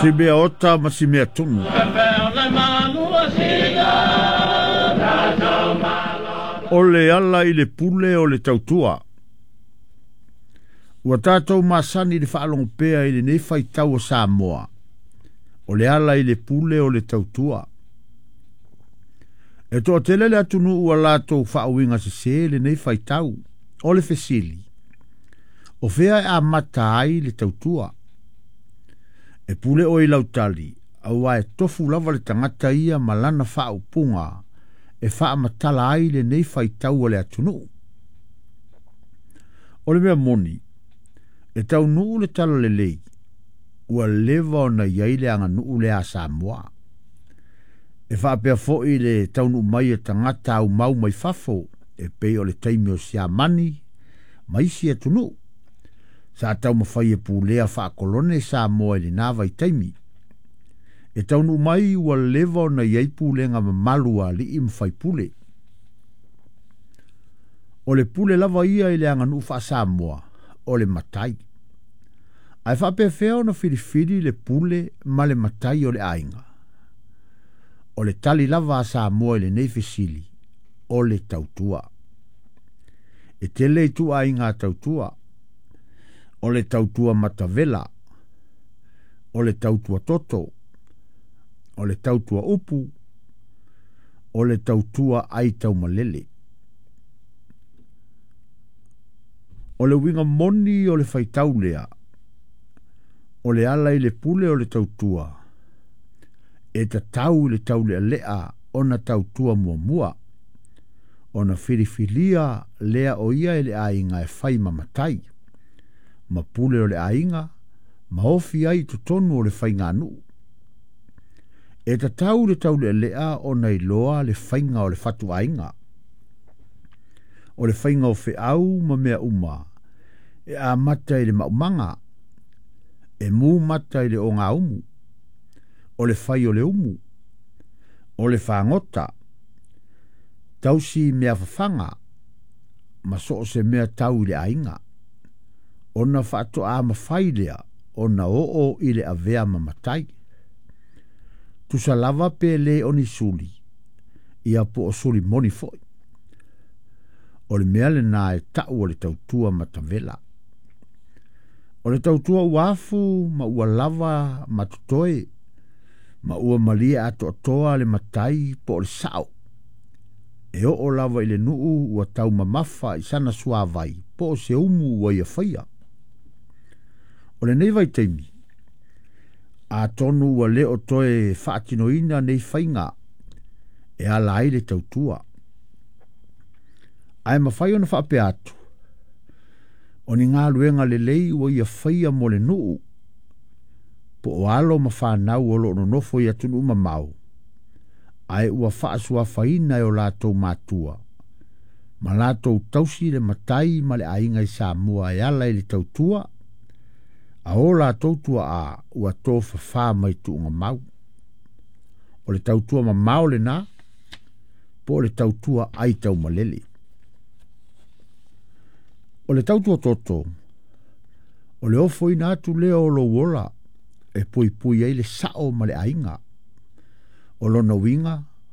Si mea ota ma si mea tunu. O le ala i le pule o le tautua. Ua tatou masani i le faalogo pea i lenei faitau o Samoa. O le ala i le pule o le tautua. E toatele le atunuu ua latou faauiga sesē lenei faitau. O le fesili, o fea e amata ai le tautua? E pule oe i lau tali, aua e tofu lava le tagata ia ma lana faaupuga e faamatala ai lenei faitau a le atunuu. O le mea moni, e taunuu le talalelei, ua leva ona i ai le aganuu lea a Samoa. E faapea foi le taunuu mai o tagata aumau mai fafo e pei o le taimi o Siamani ma isi atunuu. Sa taumafai e pulea faakolone Samoa i lena vaitaimi. E taunuu mai ua leva ona i ai pulega mamalu a alii ma faipule. O le pule lava ia i le aganuu faa-Samoa, o le matai. Ae faapefea ona filifili le pule ma le matai o le aiga? O le tali lava a Samoa i lenei fesili, o le tautua. E tele ituaiga tautua. O le tautua matavela, o le tautua toto, o le tautua upu, o le tautua ai taumalele. O le uiga moni o le faitau lea, o le ala i le pule o le tautua, e tatau i le taulealea ona tautua muamua, ona filifilia lea o ia e le aiga e fai ma matai, ma pule o le aiga, ma ofi ai i totonu o le faiganuu. E tatau i le taulealea ona iloa le faiga o le fatuaiga, o le faiga o feau ma mea uma, e amata i le maumaga, e mu mata i le ogaumu, o le fai o le umu, o le fagota, tausi mea fafaga, ma so o se mea tau i le aiga, ona faatoa mafai lea ona oo i le avea ma matai. Tusa lava pe le o ni suli, ia po o suli moni foi. O le mea lena e tau o le tautua matavela. O le tautua ua afu ma ua lava ma totoe, ma ua malie atoatoa le matai po o le sao. E oo lava i le nuu ua taumamafa i sana suavai po o se umu ua ia faia. O lenei vaitaimi, atonu ua le o toe faatinoina nei faiga e ala ai le tautua. Ae mafai ona faapea atu, o ni galuega lelei ua ia faia mo le nuu, po o alo ma fanau o lo o nonofo i atunuu mamao, ae ua faasuafaina e o latou matua, ma latou tausi le matai ma le aiga i Samoa e ala i le tautua, a o latou tuaa ua tofafā mai tuugamau. O le tautua mamao lena, po o le tautua ai taumalele. O le tautua toto, o le ofoina atu lea o lou ola e puipui ai le sao ma le aiga. O lona uiga,